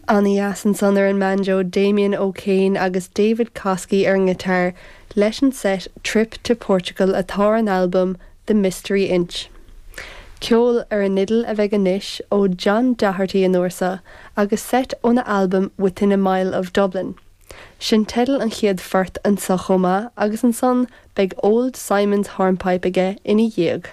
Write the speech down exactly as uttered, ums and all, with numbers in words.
An-dheas ansan ar an mbanjo Damien O'Kane agus David Kosky ar an ngiotár leis an set Trip to Portugal atá ar an albam The Mystery Inch. Ceol ar an fhidil a bheidh anois ó John Doherty an uair seo agus set óna albam Within a Mile of Dublin. Sin teideal an chéad phort anseo chomh maith agus ansan beidh Old Simon's Hornpipe aige ina dhiaidh.